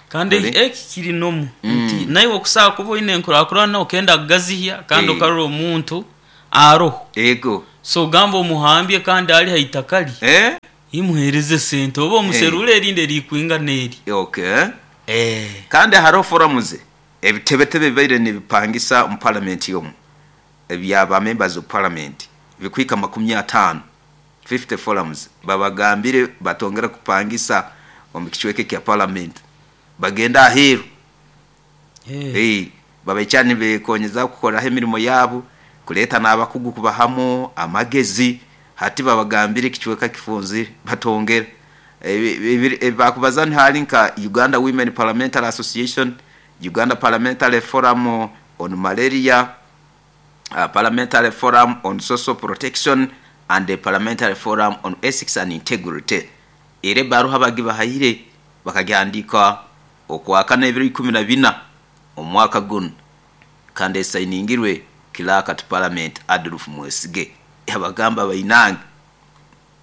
Kandi Ori. eki kiri nomu nti Naiwe okusobola kuba oine enkurakurana okenda kugazihya kandi Eh. okarora omuntu aroho. Ego. So ogamba omuhambye kandi ali ha itaka lye, Eh? imuheereze sente oba omuserure erindi erikwingana eri. Okay. Eh. Kandi hariho forums ebitebetebe bibaire nibipangisa omu parliament omu ebyaba members of parliament bikuhika 50, 50 forums, babagambire batongera kupangisa omu kicweka kya parliament, bagenda aheeru. Eh. Babaikya nibekonyeza kukoraho emirimo yabo, kuleeta n'abakugu kubahamu amagezi. Hati babagambire ekicweka kifunzire batongera. Bakubaza hali nka Uganda Women Parliamentary Association, Uganda Parliamentary Forum on Malaria, Parliamentary Forum on Social Protection and the Parliamentary Forum on Ethics and Integrity. Era ebaruha bagibahaire bakagihandika okwakana ebiro 14 omwaka guno, kandi esainingirwe Clerk to Parliament Adolf Mwesige. Yabagamba, bainange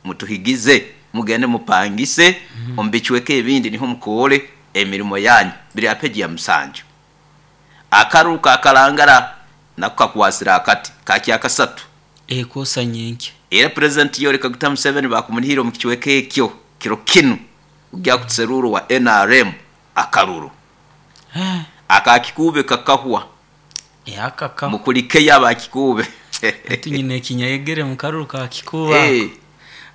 mutuhigize, mugende mupangise omu bicweka ebindi, niho mukore emirimo yanyu. Biri apeji ya 7. Akaru kakalangara nako kakwasira akati kakya kasatu. Ekosa nyenke. Era President Yoweri Kaguta Museveni bakumunihira omu kicweka ekyo kiro kinu ugya kuseruru wa NRM akaruru. Akakikube kakahwa. Akaka. Mukulikeyo abakikube. Ati nyine ekinyayegere mu karuru ka Kikuba.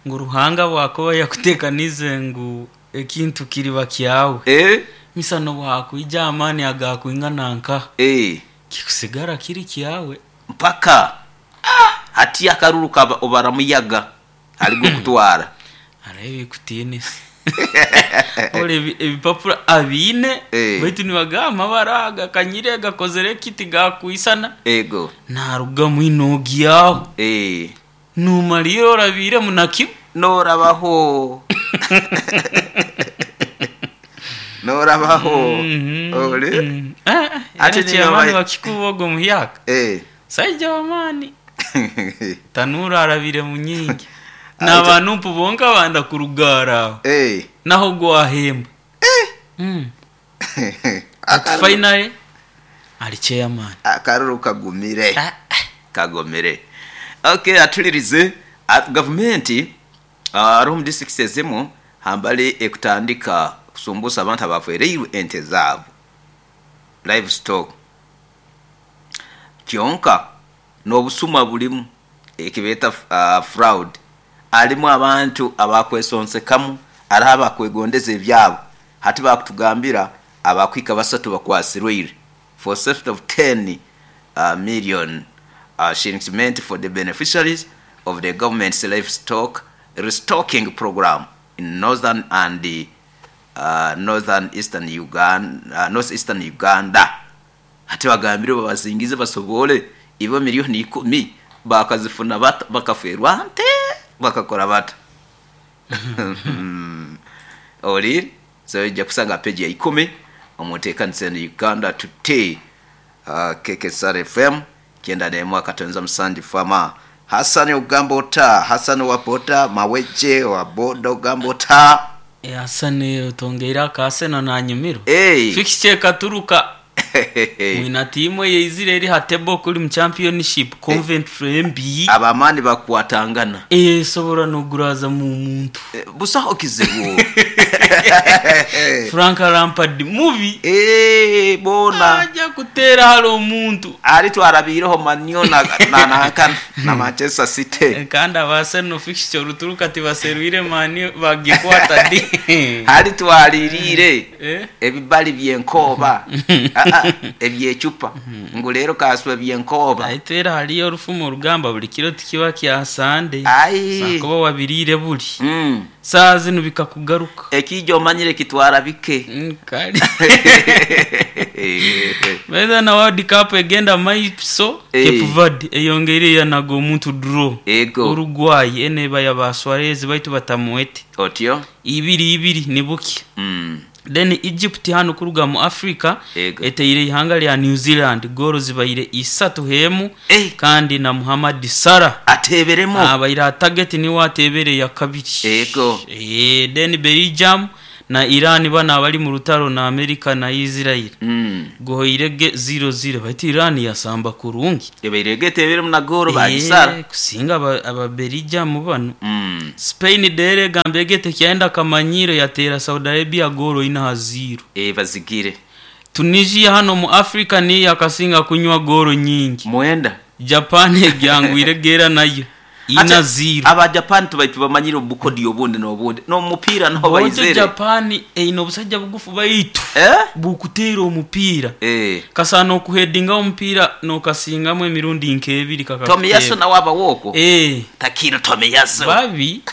Ngu Ruhanga bwakuba yakutekanize ngu ekintu kiriba kyawe. Misano bwakwija amani agakwingana nka. Kikusigara kiri kyawe. Mpaka. Hati akaruru kaba obaramuyaga aligo kutwara. Arabi kutinisa. Ole ebipapura abine baitu nibagamba baraga kanyire gakozere kiti gakuisana. Ego. Naruga mwinogi yaho. Numaliro orabire munaki norabaho. Norabaho. Ole. Ate chairman wa Kikubogo muhyaka. Saija wamani. Tanura arabire munyingi. N'abantu bonka banda kurugara. Naho gwahemba. Finally ali chairman. Akaruru kagumire. Kagomere. Okay, atulirize government room district ezimu hambali ekutandika kusumbusa abantu abafereirwe ente zabo, livestock. Kyonka n'obusuma bulimu ekibeta fraud. Alimu abantu abakwesonsekamu, ari abakwegondeza ebyabo. Hati bakutugambira abakwika basatu bakwasirweire for theft of 10 million shillings meant for the beneficiaries of the government's livestock restocking program in northern and the northern eastern Uganda, northeastern Uganda. Hati bagambire babazingize basobole ibo 10 miliyoni bakazifuna bakaferwa nte bakakora bata. Oli so ijja kusanga page ya 10 omutekanisa Uganda Today. KKSR FM 91.7 fama. Hasani ogamba ota, Hasani wa boda maweje wa boda ogamba ota. Hasani otongeire akaseno nanyumiro. Fixture katuruka. Mwina timu ye Israeli hatebo kuli mu championship Coventry MB. Abamani bakwatangana. Sobora no guraza mu muntu. Busaho kizibu. Frank Lampard mubi. Bona. Aja kutera halo omuntu. Ali twarabireho Manyo na na na Manchester City. Kandi abaseno fixture ruturuka tibaserwire Mani bagikwata di. Ali twaririre. Ebibali byenkoba. Ebyechupa. Ngo rero kaswe byenkoba. Aitera haliyo orufumo orugamba buli kiro tikiba kya Sunday. Sakuba wabirire buli. Saa zino bikakugaruka. Ekijo omanyire kitwara bike. Kali. Whether na World Cup egenda maiso Cape Verde eyongeire yanaga omuntu draw. Ego. Uruguay eneba ya ba Suarez baitu batamuwete. Otyo. 2-2 nibuki. Then Egypt hano kuruga mu Africa eteire ihanga lya New Zealand goro zibaire 3 hemu. Kandi na Muhammad Salah ateberemo abaire target ni watebere ya kabiri. Ego. Then Belgium na Iran banu abali mu rutaro na America na Israel. Guhoire ge 0-0 baitu Iran yasamba kurungi. Ebaire eteberemu na goolo bagisara. Kusinga Ababerijamu banu. Spain dere egamba ege tekyayenda kamanyiro yateera Saudi Arabia goolo 4-0. Bazigire. Tunisia hano mu Africa niyo yakasinga kunywa goolo nyingi. Mwenda. Japan egyangwire gera nayo 4-0. Aba Japan tubaitu bamanyire obukodi obundi n'obundi. N'omupiira naho Bonjo baizere. Japan eine obusajja bugufu baitu. Bukuteera omupiira. Kasana okuheadinga omupiira n'okasingamu emirundi nk'ebiri kakakuteera. Tomiyasu nawe aba woko. Takiro Tomiyasu. Babi.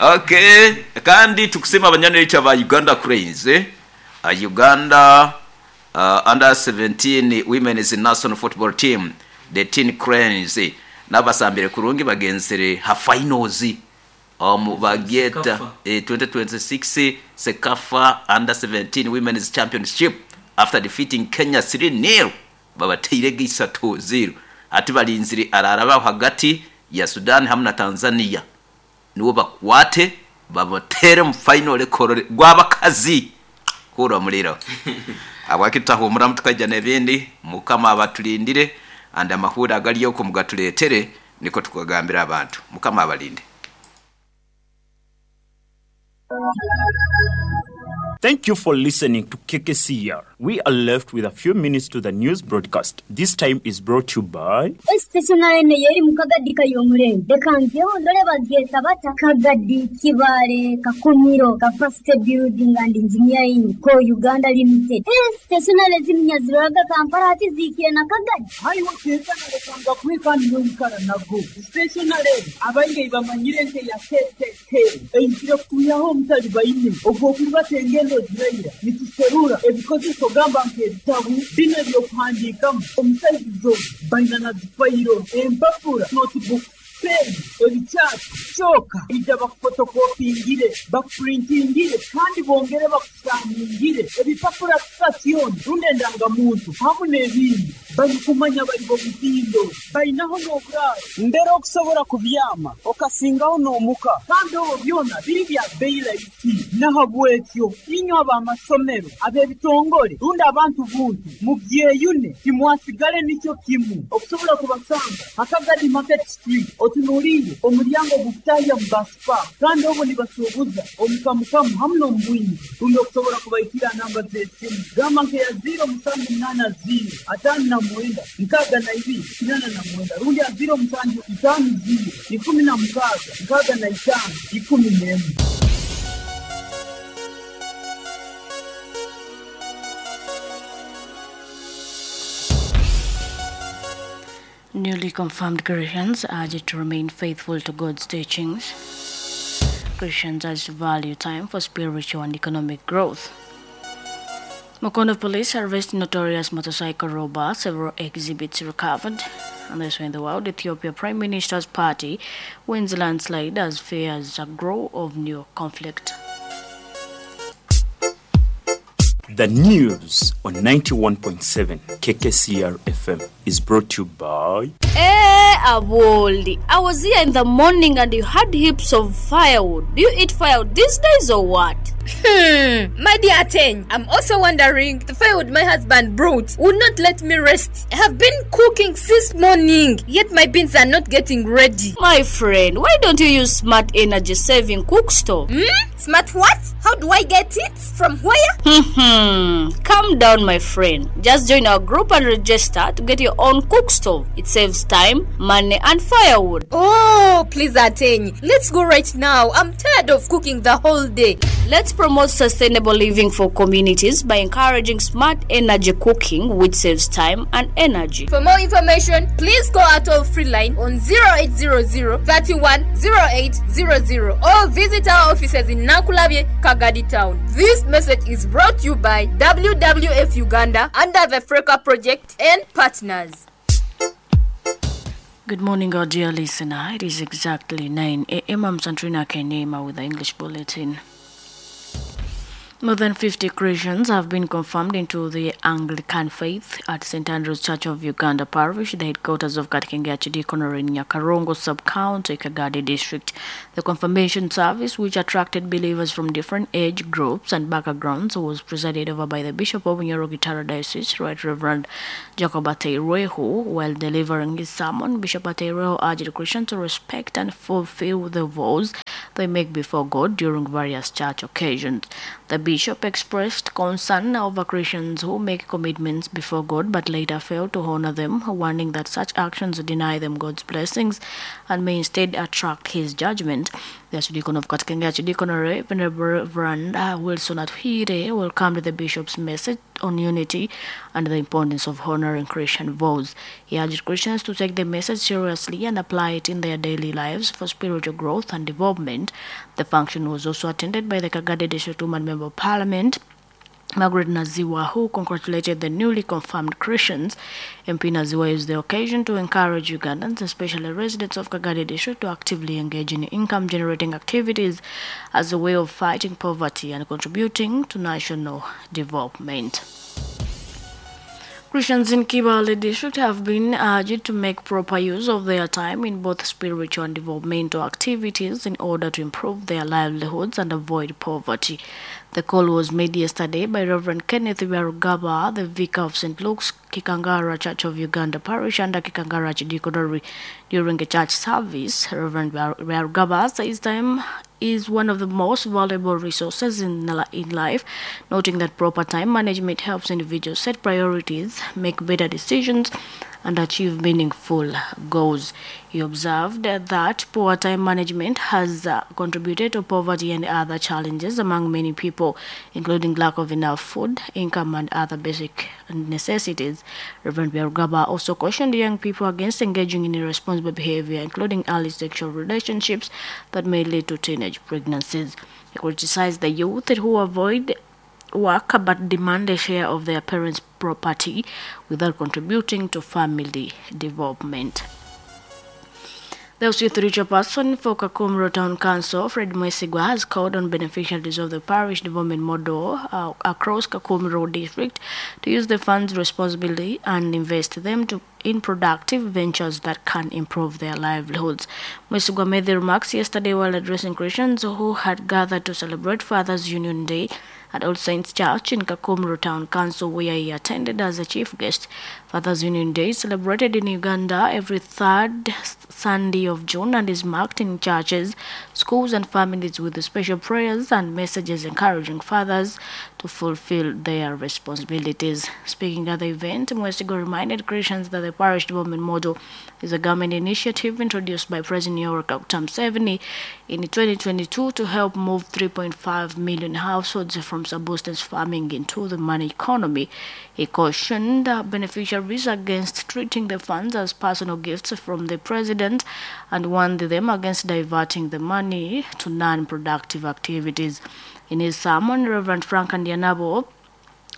Okay. Kandi tukusima abanyaneitu aba Uganda Cranes. Uganda under 17 Women's National Football Team, the Teen Cranes, n'abasambire kurungi bagenzere ha finals omu bagyeta 2026 CECAFA under 17 Women's Championship after defeating Kenya 3-0, babateire 3-0. Ati balinzire araraba hagati ya Sudan hamwe na Tanzania, niwo bakwate babatere mu final korore gwabakazi kura muliro. Abakitahumura mutukaija n'ebindi. Mukama abatulindire and amahura agaliyo ko mugatuletere niko tukagambira abantu. Mukama abalinde. Thank you for listening to KKCR. We are left with a few minutes to the news broadcast. This time is brought to you by Stationary yeri mu Kagadi kayomurembe reka ndore bagyeta bata Kagadi Kibale Kakumiro Capacity Building and Engineering Co Uganda Limited. Stationary ziminyaziraga Kampala ati zikire na Kagadi. Haiwo kekana kwikani n'omukara nago. Stationary abaingi bamanyire nke ya KKK. Eizire kutuyaho omutali baine ogwo kubatenge ziraira nituserura ebikozeso gamba nk'ebitabu bino ebyokuhandiikamu omusaizizo baina na zifayiro empapura notebook pen ebikyapa kyoka ija bakufotokopingire bakupurintingire kandi bongere bakusaningire ebipapura sitasioni rundi endangamuntu hamu n'ebindi barikumanya bari bomutindo bainaho n'oburaaro mbere okusobora kubyama okasingaho n'omuka kandi obwo byona biri bya beyi rahisi. Nahabwekyo inywe ab'amasomero ab'ebitongore rundi abantu buntu mubyeyune timwasigale nikyo kimu okusobola kubasanga Akagadi Market Street otunuulire omulyango gukutahya mu basipa kandi obwo nibasuubuza omukamukamu hamu n'omubwingi rundi okusobola kubaikira namba z'esimu gamba nkeya 0780 59 62 89 rundi ya 0750 16 65 11. Newly confirmed Christians urged to remain faithful to God's teachings. Christians urged to value time for spiritual and economic growth. Mukono police arrest notorious motorcycle robber, several exhibits recovered. And elsewhere in the world, Ethiopia Prime Minister's party wins landslide as fears grow of new conflict. The news on 91.7 KKCR FM is brought to you by Aboldi. I was here in the morning and you had heaps of firewood. Do you eat firewood these days or what? My dear Ateng, I'm also wondering, the firewood my husband brought would not let me rest. I have been cooking since morning, yet my beans are not getting ready. My friend, why don't you use smart energy saving cook stove? Smart what? How do I get it? From where? Calm down, my friend. Just join our group and register to get your own cook stove. It saves time, money, and firewood. Oh, please, Ateng. Let's go right now. I'm tired of cooking the whole day. Let's promote sustainable living for communities by encouraging smart energy cooking, which saves time and energy. For more information, please call our toll-free line on 0800 31 0800 or visit our offices in Nakulabye, Kagadi Town. This message is brought to you by WWF Uganda under the Freka Project and partners. Good morning, our dear listener. It is exactly 9 a.m. I'm Santrina Kenema with the English Bulletin. More than 50 Christians have been confirmed into the Anglican faith at St. Andrew's Church of Uganda Parish, the headquarters of Katikenge Archdeaconry in Nyakarongo Sub-County, Kagadi District. The confirmation service, which attracted believers from different age groups and backgrounds, was presided over by the Bishop of Nyoro-Kitara Diocese, Right Reverend Jacob Ateireho. While delivering his sermon, Bishop Ateireho urged Christians to respect and fulfill the vows they make before God during various church occasions. The bishop expressed concern over Christians who make commitments before God but later fail to honor them, warning that such actions deny them God's blessings and may instead attract his judgment. The Archdeacon of Katikenge Archdeaconry, Venerable Reverend Wilson Atuhire, welcomed the bishop's message on unity and the importance of honoring Christian vows. He urged Christians to take the message seriously and apply it in their daily lives for spiritual growth and development. The function was also attended by the Kagadi District Woman Member of Parliament, Margaret Naziwa, who congratulated the newly confirmed Christians. MP Naziwa used the occasion to encourage Ugandans, especially residents of Kagadi District, to actively engage in income-generating activities as a way of fighting poverty and contributing to national development. Christians in Kibaale District have been urged to make proper use of their time in both spiritual and developmental activities in order to improve their livelihoods and avoid poverty. The call was made yesterday by Reverend Kenneth Byarugaba, the vicar of St. Luke's Kikangara Church of Uganda Parish under Kikangara Archdeaconry, during a church service. Reverend Byarugaba says time is one of the most valuable resources in life, noting that proper time management helps individuals set priorities, make better decisions, and achieve meaningful goals. He observed that poor time management has contributed to poverty and other challenges among many people, including lack of enough food, income, and other basic necessities. Reverend Byarugaba also cautioned young people against engaging in irresponsible behavior, including early sexual relationships that may lead to teenage pregnancies. He criticized the youth who avoid work but demand a share of their parents' property without contributing to family development. The LC3 chairperson for Kakumiro Town Council, Fred Mwesigwa, has called on beneficiaries of the parish development model across Kakumiro District to use the funds responsibly and invest them in productive ventures that can improve their livelihoods. Mwesigwa made the remarks yesterday while addressing Christians who had gathered to celebrate Fathers Union Day at All Saints Church in Kakumiro Town Council, where he attended as a chief guest. Fathers Union Day is celebrated in Uganda every third Sunday of June and is marked in churches, schools and families with special prayers and messages encouraging fathers to fulfill their responsibilities. Speaking at the event, Mwesigwa reminded Christians that the parish development model is a government initiative introduced by President Yoweri Kaguta Museveni in 2022 to help move 3.5 million households from subsistence farming into the money economy. He cautioned beneficiaries against treating the funds as personal gifts from the president and warned them against diverting the money to non-productive activities. In his sermon, Reverend Frank Andianabo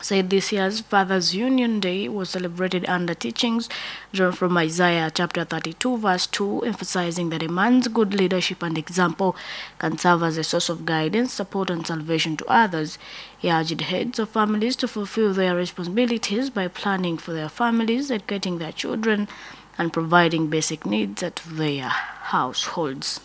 said this year's Fathers Union Day was celebrated under teachings drawn from Isaiah chapter 32 verse 2, emphasizing that a man's good leadership and example can serve as a source of guidance, support and salvation to others. He urged heads of families to fulfill their responsibilities by planning for their families, educating their children and providing basic needs to their households.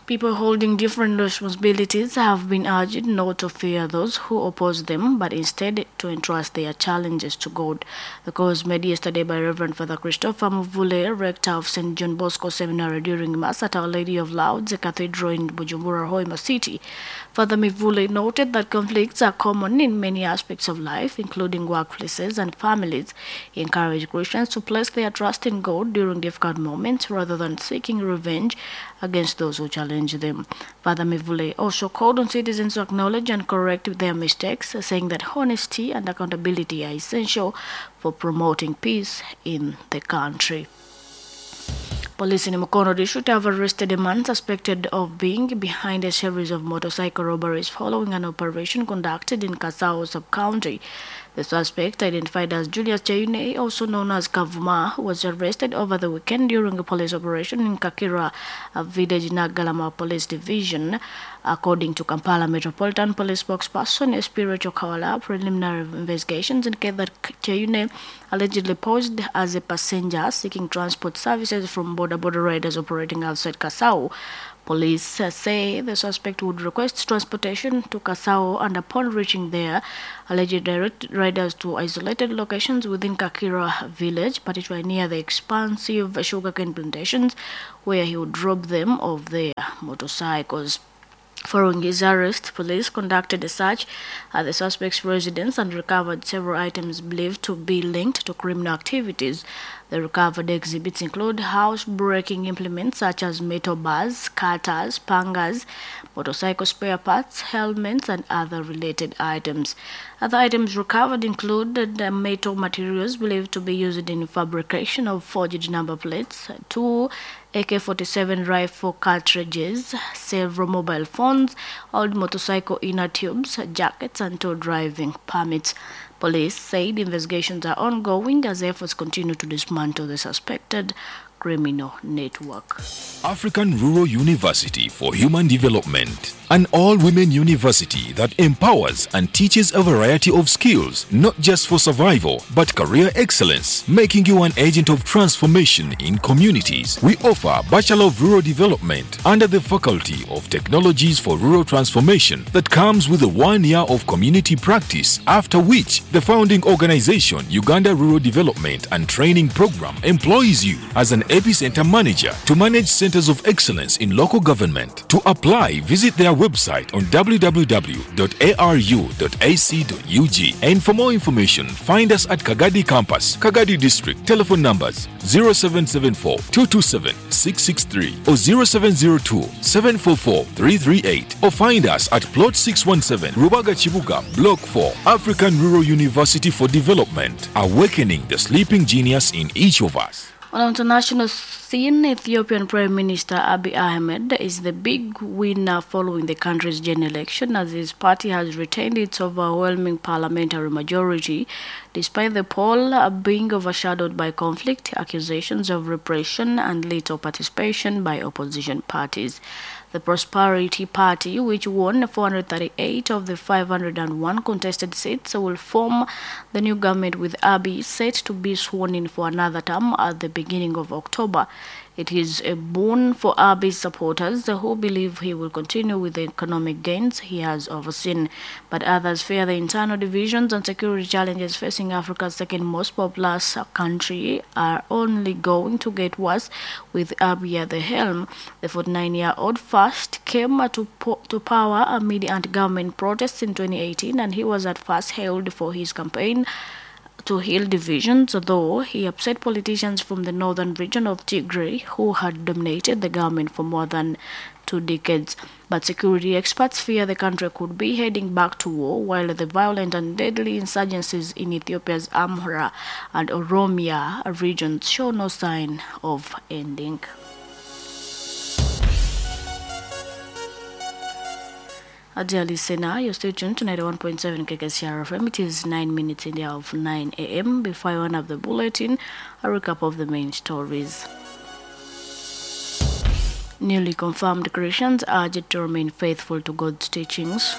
People holding different responsibilities have been urged not to fear those who oppose them, but instead to entrust their challenges to God. The call was made yesterday by Reverend Father Christopher Muvule, rector of St. John Bosco Seminary, during Mass at Our Lady of Lourdes Cathedral in Bujumbura, Hoima City. Father Mivule noted that conflicts are common in many aspects of life, including workplaces and families. He encouraged Christians to place their trust in God during difficult moments rather than seeking revenge against those who challenge them. Father Mivule also called on citizens to acknowledge and correct their mistakes, saying that honesty and accountability are essential for promoting peace in the country. Police in Mukono District have arrested a man suspected of being behind a series of motorcycle robberies following an operation conducted in Kasao sub-county. The suspect, identified as Julius Kyeyune, also known as Kavuma, was arrested over the weekend during a police operation in Kakira, a village in Naggalama Police Division. According to Kampala Metropolitan Police spokesperson Spiritual Kawala, preliminary investigations indicate that Kyeyune allegedly posed as a passenger seeking transport services from border riders operating outside Kasau. Police say the suspect would request transportation to Kasau and upon reaching there, allegedly direct riders to isolated locations within Kakira village, particularly near the expansive sugarcane plantations, where he would drop them off their motorcycles. Following his arrest, police conducted a search at the suspect's residence and recovered several items believed to be linked to criminal activities. The recovered exhibits include house-breaking implements such as metal bars, cutters, pangas, motorcycle spare parts, helmets, and other related items. Other items recovered include the metal materials believed to be used in fabrication of forged number plates, 2 AK-47 rifle cartridges, several mobile phones, old motorcycle inner tubes, jackets, and 2 driving permits. Police said investigations are ongoing as efforts continue to dismantle the suspected criminal network. African Rural University for Human Development, an all-women university that empowers and teaches a variety of skills, not just for survival, but career excellence, making you an agent of transformation in communities. We offer Bachelor of Rural Development under the Faculty of Technologies for Rural Transformation that comes with a 1 year of community practice, after which the founding organization, Uganda Rural Development and Training Program, employs you as an epicenter manager to manage centers of excellence in local government. To apply, visit their website on www.aru.ac.ug, and for more information, find us at Kagadi Campus, Kagadi District. Telephone numbers 0774 227 663 or 0702 744 338, or find us at Plot 617, Rubaga Chibuga, Block 4, African Rural University for Development, awakening the sleeping genius in each of us. On the international scene, Ethiopian Prime Minister Abiy Ahmed is the big winner following the country's general election, as his party has retained its overwhelming parliamentary majority, despite the poll being overshadowed by conflict, accusations of repression, and little participation by opposition parties. The Prosperity Party, which won 438 of the 501 contested seats, will form the new government with Abiy set to be sworn in for another term at the beginning of October. It is a boon for Abiy's supporters who believe he will continue with the economic gains he has overseen. But others fear the internal divisions and security challenges facing Africa's second most populous country are only going to get worse with Abiy at the helm. The 49-year-old first came to power amid anti-government protests in 2018, and he was at first hailed for his campaign to heal divisions, though he upset politicians from the northern region of Tigray, who had dominated the government for more than 2 decades. But security experts fear the country could be heading back to war, while the violent and deadly insurgencies in Ethiopia's Amhara and Oromia regions show no sign of ending. Dear listener, you're still tuned to 91.7 KKCR FM. It is 9 minutes in the hour of 9 a.m. Before I run up the bulletin, a recap of the main stories. Newly confirmed Christians urged to remain faithful to God's teachings.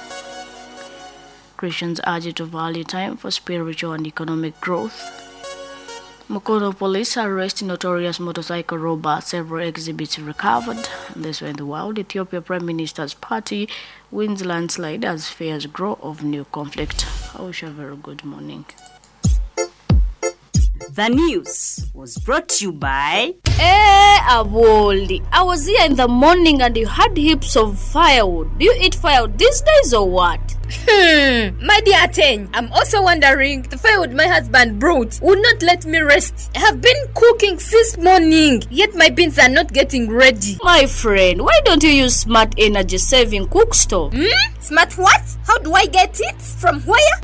Christians urged to value time for spiritual and economic growth. Mukono police arrest notorious motorcycle robber, several exhibits recovered. This way in the world, Ethiopia Prime Minister's party wins landslide as fears grow of new conflict. I wish you a very good morning. The news was brought to you by... Hey, Awoli, I was here in the morning and you had heaps of firewood. Do you eat firewood these days or what? My dear Ateng, I'm also wondering, the firewood my husband brought would not let me rest. I have been cooking since morning, yet my beans are not getting ready. My friend, why don't you use smart energy saving cook stove? Smart what? How do I get it? From where?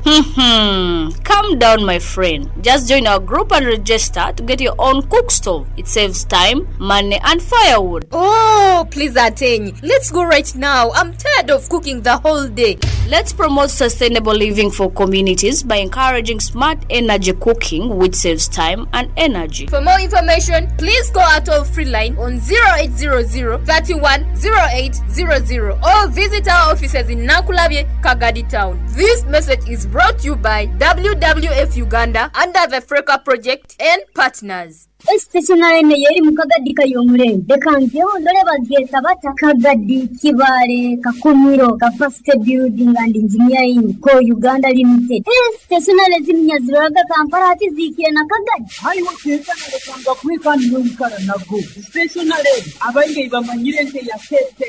Calm down, my friend. Just join our group and register to get your own cook stove. It saves time, money, and firewood. Oh, please, Ateng, let's go right now. I'm tired of cooking the whole day. Let's It promotes sustainable living for communities by encouraging smart energy cooking, which saves time and energy. For more information, please call our toll free line on 0800 31 0800 or visit our offices in Nakulabye, Kagadi Town. This message is brought to you by WWF Uganda under the Freka Project and partners. Stationary ene yeri mu Kagadi kay'omurembe. Leka njeho ndole bagyeta bata Kagadi, Kibaale, Kakumiro, Capacity Building and Engineering Co Uganda Limited. Stationary ziminya ziroraga Kampala hati ziikire na Kagadi. Haiwe tekana lekanga kuhe kandi noikara nago. Stationary abaingi bamanyire nke ya KKK.